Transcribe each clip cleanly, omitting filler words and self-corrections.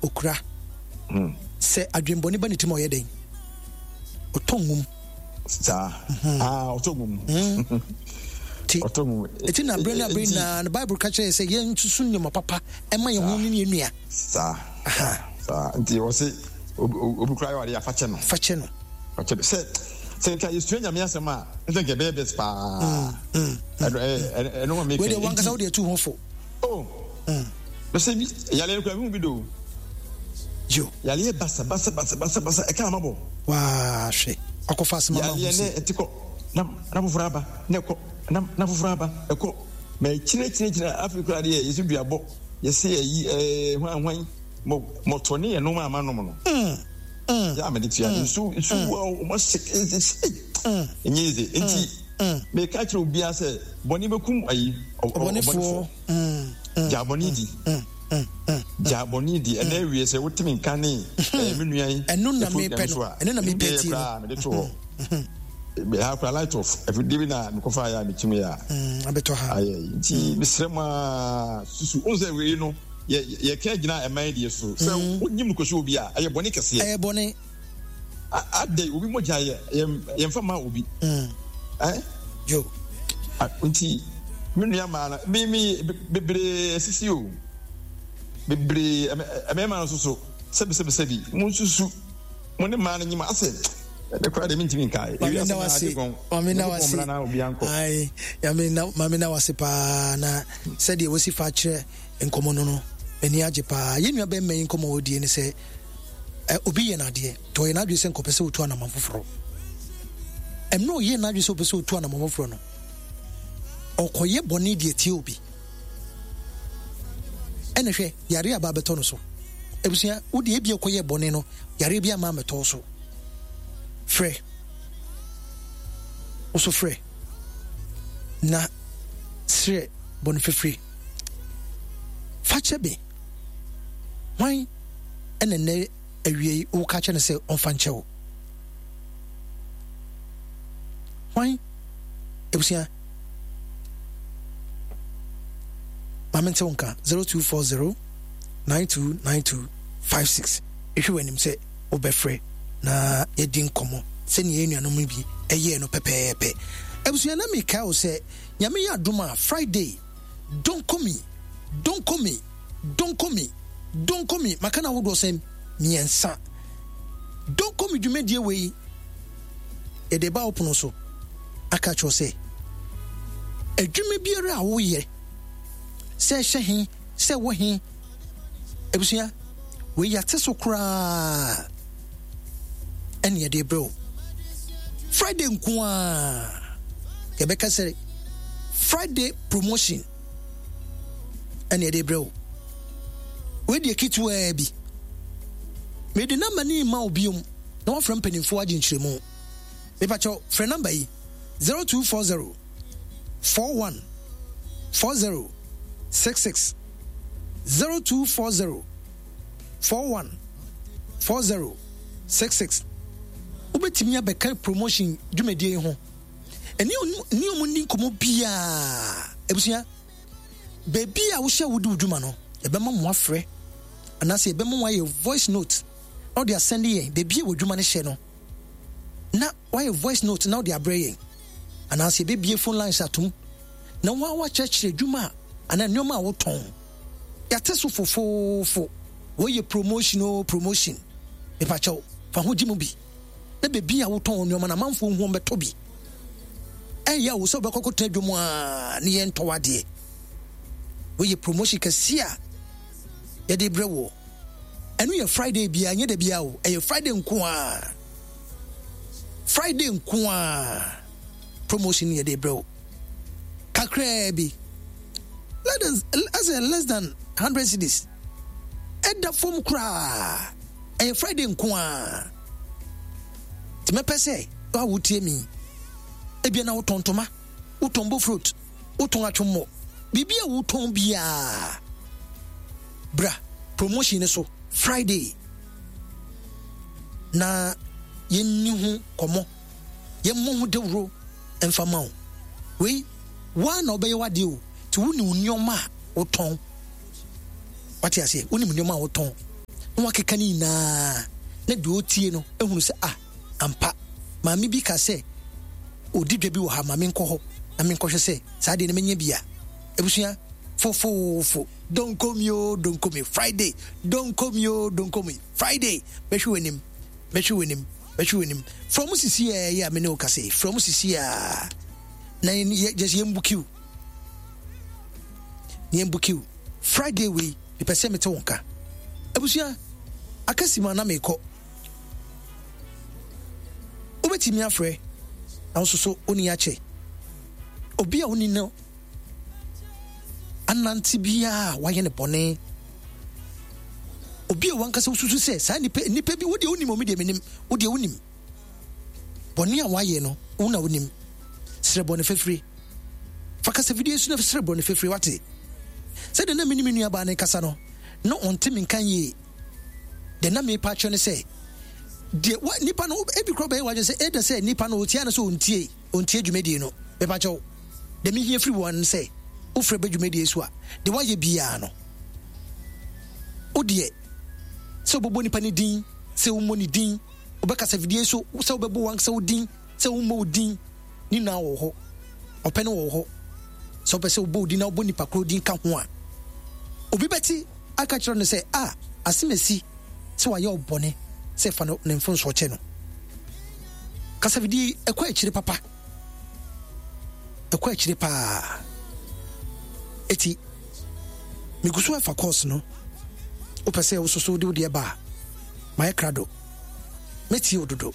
okura. Sɛ adwembɔne ba ne tirim a ɔyɛ dɛn? Ɔtɔ ngum. Saa. Mhm. Ah, ɔtɔ ngum. Hmm. Ti. Ɔtɔ ngum. Eti na abere ne abere nyinaa no Bible ka kyerɛ yɛ sɛ yɛn nsusu nneɛma papa ɛma yɛn ho ne yɛn nua. Saa. Saa. Nti wɔsi obi kura yɛ ɔde afakyɛ no. Fakyɛ no. Fakyɛ no. Sɛ sɛ nka yɛsua nyame asɛm a nka nka ɛbɛyɛ best paa. Mm, mm, mm. Ɛno ma meka. Wei deɛ wankasa wode atu ho fo. Oh. Bɛsɛ bi yaleɛ no kura bi mu bi do. Yo. Yaleɛ basa basa basa basa basa ɛka ama bɔ. Waa hwɛ akɔfa asɛm ama ho si. Yaleɛ ne ɛte kɔ na na foforɔ aba na ɛkɔ na na foforɔ aba ɛkɔ mɛ kyerɛ kyerɛ kyerɛ afei kura deɛ yɛsi dua bɔ yɛsi ɛyi ɛɛ hwan hwan mɔ mɔtɔ ne yɛ nom ama nom no. Yɛ a mɛde tua nsu nsu wa ɔmo ahyɛ ɛsɛ ɛnyɛ ɛsɛ nti mɛka kyerɛ obiara sɛ bɔnne bɛkum ayi ɔbɔnefoɔ. Gyaa bɔne di. Gyaa bɔne di. Ɛnɛ awie sɛ wotumi nka ne ɛyɛ me nua yi. Ɛno na mepɛ no. Ɛno na mepɛ tie no. Mede to hɔ. Ha kora light off. Afidie bi na mekɔfa ayɛ a mekyim yɛ a. Abɛtɔ ha. Ayɛ nti mesrɛ mu a susu. Wohu sɛ wei no yɛka gyina ɛman deɛ so. Sɛ wonyim no kɔsi obi a ɛyɛ bɔne kɛseɛ. Ɛyɛ bɔne. Adɛn obi mogya yɛ yɛmfa ma obi. Eh? Yo. Nti me nua maa no me me bebree asisi o. Bebree mmarima no nso so sɛbi sɛbi sɛbi mo nsusu mo ne mmaa no nyima asɛ ɛbɛ koraa deɛ mentumi nkae. Maame na wase maame na wase ayi maame na maame na wase paa na sɛdeɛ wosi fa kyerɛ nkɔmɔ no no m'ani agye paa yɛn nua bɛrima yi nkɔmɔ ɔdie ne sɛ obi yɛ n'adeɛ nti ɔyɛ n'adwene sɛ nkɔpɛ sɛ ɔtu anamɔn foforɔ. Mmerɛ ɔyɛ n'adwene sɛ ɔpɛ sɛ ɔtu anamɔn foforɔ no, ɔkɔyɛ bɔne deɛ tie obi. Ɛna hwɛ, yareɛ aba abɛtɔ no so. Abusua, wo deɛ ebia ɔkɔyɛ bɔne no, yareɛ bi ama amɛtɔ so. Frɛ. Wo so frɛ. Na srɛ bɔne fafiri. Fakyɛ me. Hwan ɛna nnɛ awia yi woka kyerɛ no sɛ ɔmfa nkyɛ wo? Hwan? Abusua, ma mente wo nka 0240 9292 56. Ehwɛ w'anim sɛ wobɛfrɛ na yɛadi nkɔmmɔ sɛnea yɛn nuanom no bi ɛyɛɛ no pɛpɛɛpɛ. Abusua, na mekae wo sɛ Nyame yɛ adom a Friday Donkomi, Donkomi, Donkomi, Donkomi, maka no ahodoɔ sɛn? Mmiɛnsa. Donkomi dwumadie wei, yɛde ba wo pono so aka kyerɛ sɛ, adwuma biara a woyɛ, sɛ ɛhyɛ he, sɛ ɛwɔ he, abusua, wei yɛate so koraa ɛne yɛde brɛ wo. Friday nko ara yɛbɛka sɛ Friday promotion ɛne yɛde brɛ wo. Wei deɛ ketewaa bi. Mede namba no ma wo biom na wafrɛ mpanimfoɔ agye nkyerɛmu. Mepakyɛw frɛ namba yi 0240 41 40 66 0240 41 40 66. Wobɛtumi abɛka promotion dwumadie yi ho ɛne ne ɔmo nni nkɔmmɔ biara. Abusua, baabi a wohyɛ wodi wo dwuma no, yɛbɛma mo afrɛ anaasɛ yɛbɛma mo ayɛ voice note na wode asɛnde yɛn baabi a w'adwuma no hyɛ no, na wayɛ voice note na wode abrɛ yɛn, anaasɛ yɛbɛbie phone lines atom na woa wakyerɛkyerɛ adwuma a anaa nneɛma a wotɔn. Yɛate so fofoofo, wei yɛ promotion o promotion. Mepakyɛw, fa ho gye mu bi na baabi a wotɔn nneɛma no amanfoɔ hu wɔn bɛtɔ bi. Ɛyɛ wo sɛ wobɛkɔ akɔtena dwom a ne yɛntɔ w'adeɛ. Wei yɛ promotion kɛseɛ a yɛde brɛ woɔ. Ɛno yɛ Friday biara, nyɛ da biara o, ɛyɛ Friday nko ara. Friday nko ara promotion yɛde brɛ wo. Kakraa bi, less than 100 cedis. Ɛda fam koraa. Ɛyɛ Friday nko ara. Nti mɛpɛ sɛ wo a wotie mi, ebia na wotɔn ntoma, wotɔn bofrot, wotɔn atwommɔ, biribi a wotɔn biara, bra promotion no so Friday na yɛnni ho kɔmmɔ, yɛmmɔ ho dawuro mfa ma wo. Wei, woa na wobɛyɛ w'adeɛ o, nti wonim nneɛma a wotɔn. Wate aseɛ? Wonim nneɛma a wotɔn. Na wakeka ne nyinaa na deɛ ɔtie no ehunu sɛ ah ampa maame bi ka sɛ ɔdi dwa bi wɔ ha ma menkɔ hɔ na menkɔhwɛ sɛ saa deɛ no menya bi a. Abusua fofoofo don't call me oh don't call me Friday don't call me oh don't call me Friday mɛhwɛ w'anim mɛhwɛ w'anim mɛhwɛ w'anim frɛ ɔmo sisi a ɛyɛ a me ne wo kasa yi frɛ ɔmo sisi a na yɛ just yɛn bukiw yɛn bukiw Friday wei mepɛ sɛ mete wo nka abusua akasi mu a na mekɔ wobɛtumi afrɛ na wo nso so woni akyɛ obi a woni no anante biara a wayɛ no bɔne obi a wankasa wosusu sɛ saa nipa nipa bi wodeɛ wonim omi deɛ menim wodeɛ wonim bɔne a wayɛ no wo na wonim srɛ bɔne fafiri fa kasa fidie so na srɛ bɔne fafiri wate sɛdeɛ na mene me nuabaa no kasa no na ɔnte me nka yie deɛ na mepa akyerɛ no sɛ deɛ wa nipa no ebi korɔ bɛyɛ wadwene sɛ ɛda sɛ nipa no ɔtia no sɛ ɔntie ɔntie dwumadie no mepa kyɛw Deɛ mehia firi wo ara ne sɛ wofrɛ bɛ dwumadie so a, deɛ woayɛ biara no, wo deɛ sɛ wobɛbɔ nipa no din, sɛ wommɔ ne din, wobɛkasa fidie so, sɛ wobɛbɔ wankasa wo din, sɛ wommɔ wo din, ne nyinaa wɔ hɔ. Ɔpɛ no wɔ hɔ. Sɛ wopɛ sɛ wobɔ wo din na wobɔ nipa korɔ din ka ho a, obi bɛte aka kyerɛ no sɛ, a, asemasi sɛ wayɛ wo bɔne, sɛ fa no ne mfomsoɔ kyɛ no. Kasafidie ɛkɔ akyire papa. Ɛkɔ akyire paa. Eti, megu so ɛfa course no. Wopɛ sɛ wososo wode wo deɛ ba a, mayɛ krado. Mɛtie wo dodo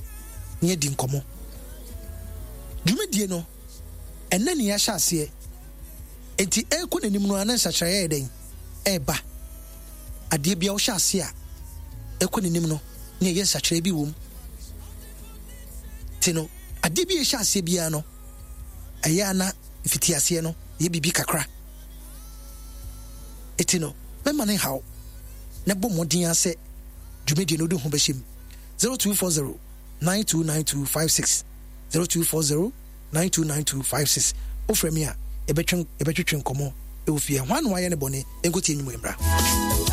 na yɛadi nkɔmmɔ. Dwumadie no, ɛnnɛ ne yɛahyɛ aseɛ. Enti ɛrekɔ n'anim no ara na nsakyeraeɛ ayɛ dɛn? Ɛreba. Adeɛ biara wohyɛ aseɛ a, ɛrekɔ n'anim no na ɛyɛ nsakyeraeɛ bi wɔ mu. Nti no, adeɛ bi a ɛhyɛ aseɛ biara no, ɛyɛ a na mfitiaseɛ no yɛ biribi kakra. Eti no, mɛma no nhaw na bɔ mmɔden ara sɛ dwumadie no wode ho bɛhyɛ mu. 0240 929256 0240 929256 Wofrɛ me a, yɛbɛtwe yɛbɛtwetwe nkɔmmɔ wɔ fie. Hwan na wayɛ ne bɔne? Yɛnkɔtie nnwom yi mmra.